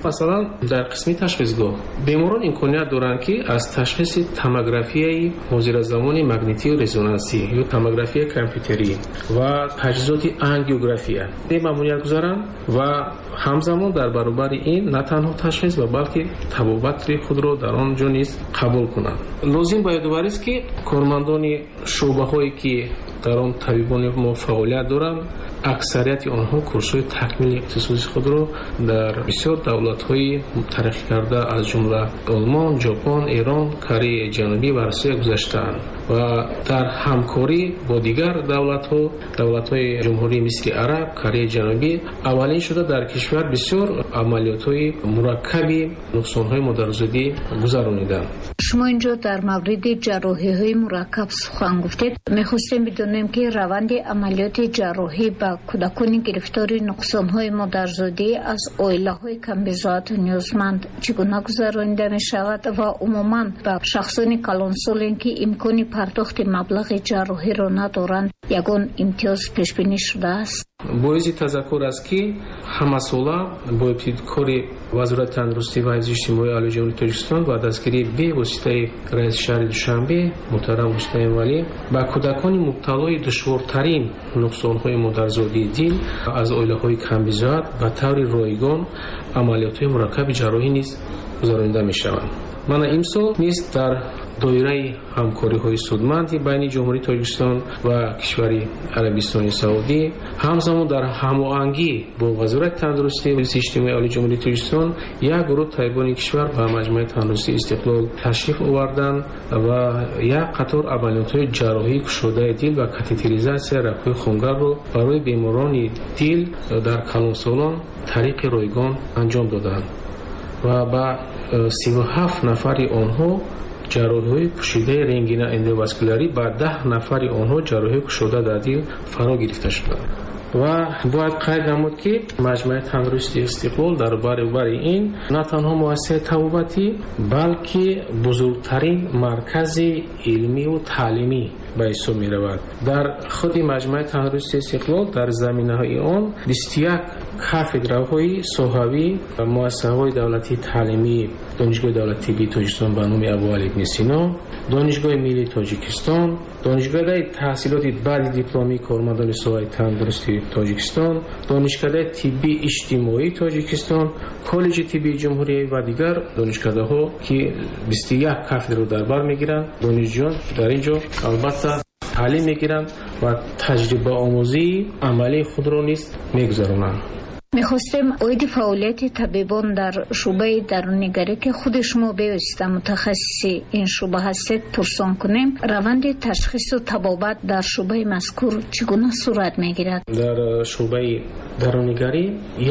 Масалан, дар қисми ташхисгоҳ беморон имконият доранд, ки аз ташхиси томографияи ҳозиразамони магнитию резонансӣ ё томографияи компютерӣ ва таҷҳизоти ангиография бемамоният гузаранд ва ҳамзамон дар баробари ин на танҳо ташхис ва балки табобати худро дар он ҷо низ қабул кунанд. Лозим ба ёдоварист, ки кормандони шӯъбаҳое, ки дар он табибони мо фаъолият доранд, аксарияти онҳо курсҳои такмили ихтисоси худро дар бисёр давлатҳои тараққӣ карда, аз ҷумла Олмон, Ҷопон, Эрон, Кореяи Ҷанубӣ ва Русия гузаштаанд ва дар ҳамкорӣ бо дигар давлатҳо, давлатҳои ҷумҳурии Мисли Араб, Кореяи Ҷанубӣ аввалин шуда дар кишвар бисёр амалиётҳои мураккаби нуқсонҳои модарзодӣ гузарониданд. Шумо инҷо дар мавриди ҷарроҳиҳои мураккаб сухан гуфтед. Мехостем бидонем, ки раванди амалиёти ҷарроҳӣ ба кӯдакони гирифтори нуқсонҳои модарзодӣ аз оилаҳои камбизоату ниёзманд чӣ гуна гузаронида мешавад ва умуман ба шахсони калонсоле, ки имкони пардохти маблағи ҷарроҳиро надоранд, ягон имтиёз пешбинӣ шудааст? Боиси тазаккур аст, ки ҳамасола бо ибтикори Вазорати тандурустӣ ва ҳифзи иҷтимоии Олии Ҷумҳурии Тоҷикистон ва дастгирии бевоситаи раиси шаҳри Душанбе муҳтарам Рустам Эмомалӣ ба кӯдакони мубталои душвортарин нуқсонҳои модарзодии дил аз оилаҳои камбизоат ба таври ройгон амалиётҳои мураккаби ҷарроҳӣ низ гузаронида мешаванд. Мана имсол низ дар доираи ҳамкориҳои судманди байни Ҷумҳурии Тоҷикистон ва кишвари Арабистони Саудӣ, ҳамзамон дар ҳамоҳангӣ бо Вазорати тандурустӣ ва ҳифзи иҷтимоии Олии Ҷумҳурии Тоҷикистон як гурӯҳ табибони кишвар ба Маҷмӯаи тандурустии Истиқлол ташриф оварданд ва як қатор амалиётҳои ҷарроҳии кушодаи дил ва катетеризатсия рагҳои хунгарро барои беморони дил дар калонсолон тариқи ройгон анҷом доданд ва ба 37 нафари онҳо ҷарроҳиҳои пӯшидаи рентгеноэндоваскулярӣ, ба 10 нафари онҳо ҷарроҳиҳои кушода дар дил фаро гирифта шуданд. Ва бояд қайд намуд, ки Маҷмӯаи тандурустии Истиқлол дар баробари ин на танҳо муассисаи табобатӣ, балки бузургтарин маркази илмию таълимӣ ба ҳисоб меравад. Дар худи Маҷмӯаи тандурустии Истиқлол дар заминаҳои он 21 кафедраҳои соҳавӣ ва муассисаҳои давлатии таълимии Донишгоҳи давлатии тиббии Тоҷикистон ба номи Абуалӣ ибни Сино, Донишгоҳи миллии Тоҷикистон, Донишгоҳи таҳсилоти баъди дипломии кормандони соҳаи тандурустии Тоҷикистон, Донишкадаи тиббии иҷтимоии Тоҷикистон, Коллеҷи тиббии ҷумҳурӣ ва дигар донишкадаҳо, ки 21 кафедраро дар бар мегиранд. Донишҷӯён дар ин ҷо албатта таълим мегиранд ва таҷрибаомӯзии амалии худро низ мегузаронанд. Мехостем оиди фаъолияти табибон дар шӯъбаи даруннигарӣ, ки худи шумо бевосита мутахассиси ин шӯъба ҳастед, пурсон кунем. Раванди ташхису табобат дар шӯъбаи мазкур чӣ гуна сурат мегирад? Дар шӯъбаи даруннигарӣ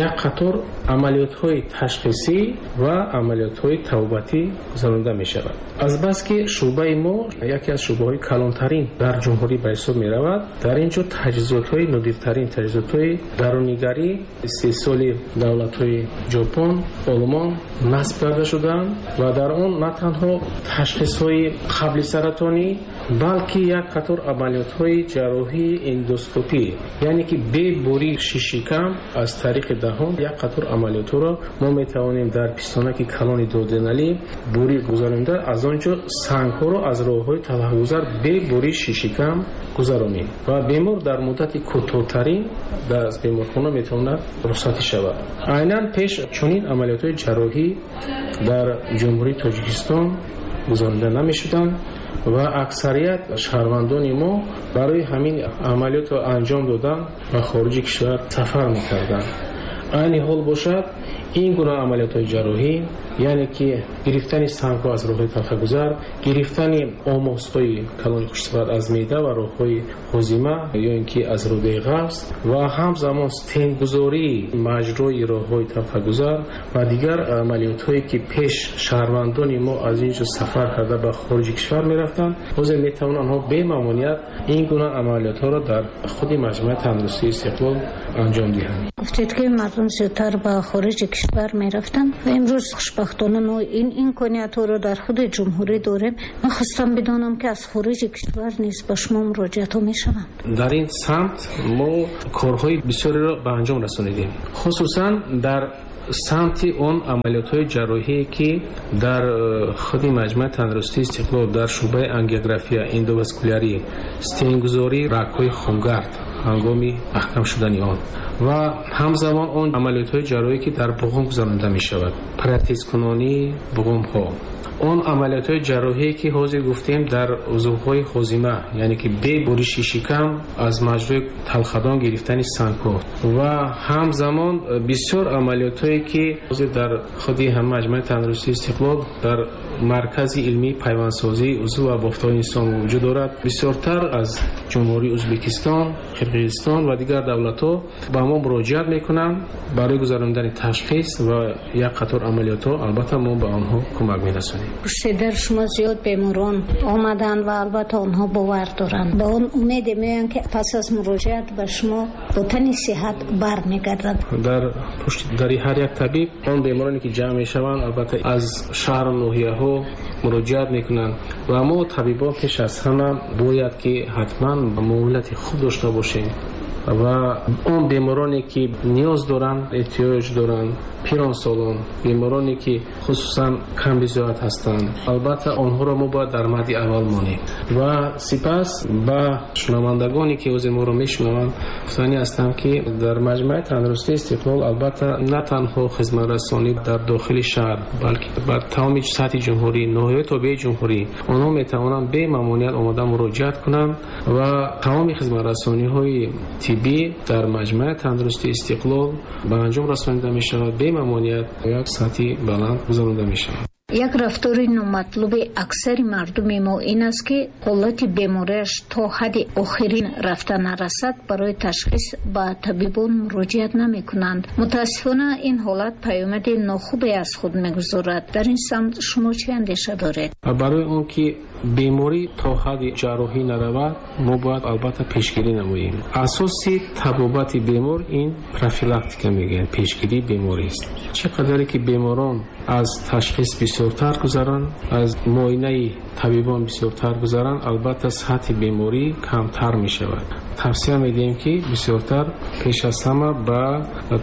як қатор амалиётҳои ташхисӣ ва амалиётҳои табобатӣ гузаронида мешавад. Азбаски шӯъбаи мо яке аз шӯъбаҳои калонтарин дар ҷумҳурӣ ба ҳисоб меравад, дар ин ҷо таҷҳизотҳои нодиртарин таҷҳизотҳои даруннигарӣ истеҳсоли давлатҳои Ҷопон, Олмон насб карда шудаанд ва дар он на танҳо ташхисҳои қабли саратонӣ, балки як қатор амалиётҳои ҷарроҳии эндоскопӣ, яъне ки бе буриши шикам аз тариқи даҳон як қатор амалиётҳоро мо метавонем дар пистонаки калони дуоденалӣ бурӣ гузаронида, аз он ҷо сангҳоро аз роҳҳои талхагузар бе буриши шикам гузаронем ва бемор дар муддати кӯтоҳтарин аз беморхона метавонад рухсатӣ шавад. Айнан пеш чунин амалиётҳои ҷарроҳӣ дар Ҷумҳурии Тоҷикистон гузаронида намешуданд ва аксарият шаҳрвандони мо барои ҳамин амалиётро анҷом додан ба хориҷи кишвар сафар мекарданд. Айни ҳол бошад, ин гуна амалиётҳои ҷарроҳӣ, яъне ки гирифтани сангҳо аз роҳҳои талхагузар, гирифтани омосҳои калони хушсифат аз меъда ва роҳҳои ҳозима ё ин ки аз рӯдаи ғафс ва ҳамзамон стентгузории маҷрои роҳҳои талхагузар ва дигар амалиётҳое, ки пеш шаҳрвандони мо аз ин ҷо сафар карда ба хориҷи кишвар мерафтанд, ҳозир метавонанд онҳо бемамоният ин гуна амалиётҳоро дар худи Маҷмӯаи тандурустии Истиқлол анҷом диҳанд. Гуфтед, ки мардум зиёдтар ба хориҷи кишвар мерафтанд ва имрӯз хушбахтона мо ин имкониятҳоро дар худи ҷумҳурӣ дорем. Мехостам бидонам, ки аз хориҷи кишвар низ ба шумо муроҷиатҳо мешаванд? Дар ин самт мо корҳои бисёреро ба анҷом расонидем, хусусан дар Самти он амалиётҳои ҷарроҳие, ки дар худи маҷмӯаи тандурустии Истиқлол дар шӯъбаи ангиография, эндоваскулярӣ, стенгузории рагҳои хунгард ҳангоми маҳкам шудани он ва ҳамзамон он амалиётҳои ҷарроҳие, ки дар буғум гузаронида мешавад, протезкунонии буғумҳо, он амалиётҳои ҷарроҳие, ки ҳозир гуфтем дар узвҳои ҳозима, яъне ки бе буриши шикам аз маҷрои талхадон гирифтани сангҳо ва ҳамзамон бисёр амалиётҳое, ки ҳозир дар худи ҳама маҷмӯаи тандурустии Истиқлол дар маркази илмии пайвандсозии узв ва бофтҳои инсон вуҷуд дорад. Бисёртар аз Ҷумҳурии Ӯзбекистон, Қирғизистон ва дигар давлатҳо ба мо муроҷиат мекунанд барои гузарондани ташхис ва як қатор амалиётҳо. Албатта мо ба онҳо кӯмак мерасонем. Пушти шумо зиёд беморон омаданд ва албатта онҳо бовар доранд. Ба он умеде меоянд, ки пас аз муроҷиат ба шумо бо тани сиҳат бармегарданд. Дар пушти дари ҳар як табиб он бемороне, ки ҷамъ мешаванд, албатта аз шаҳру ноҳияҳо муроҷиат мекунанд ва мо табибон пеш аз ҳама бояд ки ҳатман муомилати хуб дошта бошем ва он бемороне, ки ниёз доранд, эҳтиёҷ доранд, пиронсолон, бемороне, ки хусусан камбизоат ҳастанд, албатта онҳоро мо бояд дар мадди аввал монем. Ва сипас ба шунавандагоне, ки ҳозир моро мешунаванд, гуфтанӣ ҳастам, ки дар маҷмӯаи тандурустии Истиқлол албатта на танҳо хизматрасонӣ дар дохили шаҳр, балки бар тамоми сатҳи ҷумҳурӣ, ноҳияҳои тобеи ҷумҳурӣ онҳо метавонанд бемамоният омода муроҷиат кунанд ва тамоми хизматрасониҳои тиббӣ дар маҷмӯаи тандурустии Истиқлол ба анҷом расонида мешавад, бемамоният як сатҳи баланд гузаронида мешавад. Як рафтори номатлуби аксари мардуми мо ин аст, ки ҳолати бемориаш то ҳадди охирин рафта нарасад, барои ташхис ба табибон муроҷиат намекунанд. Мутаассифона, ин ҳолат паёмади нохубе аз худ мегузорад. Дар ин самт шумо чӣ андеша доред? Барои он ки беморӣ то ҳадди ҷарроҳӣ наравад, мо бояд албатта пешгирӣ намоем. Асоси табобати бемор ин профилактика мегӯянд, пешгирии беморист. Чӣ қадаре ки беморон аз ташхис бисёртар гузаранд, аз муоинаи табибон бисёртар гузаранд, албатта сатҳи беморӣ камтар мешавад. Тавсия медиҳем, ки бисёртар пеш аз ҳама ба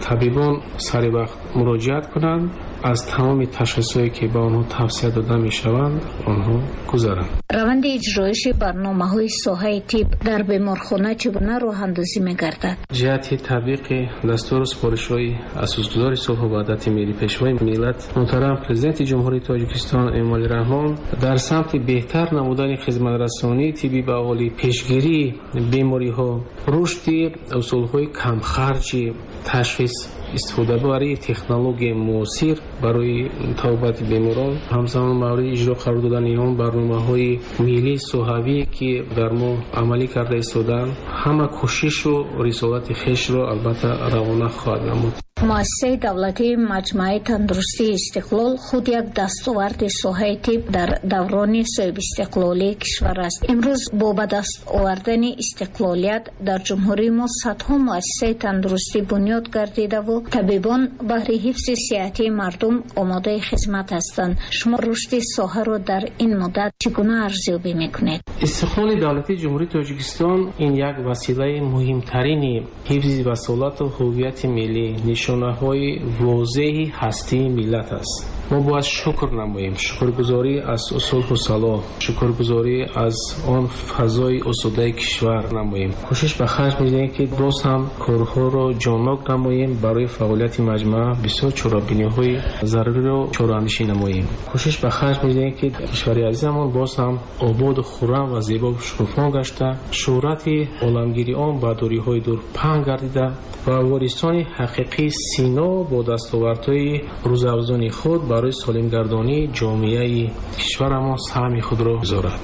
табибон сари вақт муроҷиат кунанд, аз тамоми ташхисҳое, ки ба онҳо тавсия дода мешаванд, онҳо гузаранд. Раванди иҷроиши барномаҳои соҳаи тиб дар беморхона чӣ гуна роҳандозӣ мегардад? Ҷиҳати татбиқи дастуру супоришҳои асосгузори сулҳу ваҳдати миллӣ, пешвои миллат, муҳтарам Президенти Ҷумҳурии Тоҷикистон Эмомалӣ Раҳмон дар самти беҳтар намудани хизматрасонии тиббӣ ба аҳолӣ, пешгирии бемориҳо, рушди усулҳои камхарҷи ташхис, истифодабарии технологияи муосир барои табобати беморон, ҳамзамон мавриди иҷро қарор додани он барномаҳои миллии соҳавӣ, ки дар мо амалӣ карда истодаанд, ҳама кӯшишу рисолати хешро албатта равона хоҳад намуд. Муассисаи давлатии маҷмӯаи тандурустии Истиқлол худ як дастоварди соҳаи тиб дар даврони соҳибистиқлолии кишвар аст. Имрӯз бо ба даст овардани истиқлолият дар ҷумҳурии мо садҳо муассисаи тандурустӣ бунёд гардидаву табибон баҳри ҳифзи сиҳатии мардум омодаи хизмат ҳастанд. Шумо рушди соҳаро дар ин муддат чӣ гуна арзёбӣ мекунед? Истиқлоли давлатии Ҷумҳурии Тоҷикистон ин як василаи муҳимтарини ҳифзи васолату ҳуввияти миллӣ, нишонаҳои возеҳи ҳастии миллат аст. Мо бояд шукр намоем, шукргузорӣ аз сулҳу салоҳ, шукргузорӣ аз он фазои осудаи кишвар намоем. Кӯшиш ба харҷ медиҳем, ки боз ҳам корҳоро ҷоннок намоем, барои фаъолияти маҷмӯа бисёр чорабиниҳои заруриро чораандешӣ намоем. Кӯшиш ба харҷ медиҳем, ки кишвари азизамон боз ҳам ободу хуррам ва зебо шукуфон гашта, шӯҳрати оламгири он ба дуриҳои дур паҳн гардида ва ворисони ҳақиқии Сино бо дастовардҳои рӯзафзуни худ барои солимгардонии ҷомеаи кишварамон саҳми худро гузорад.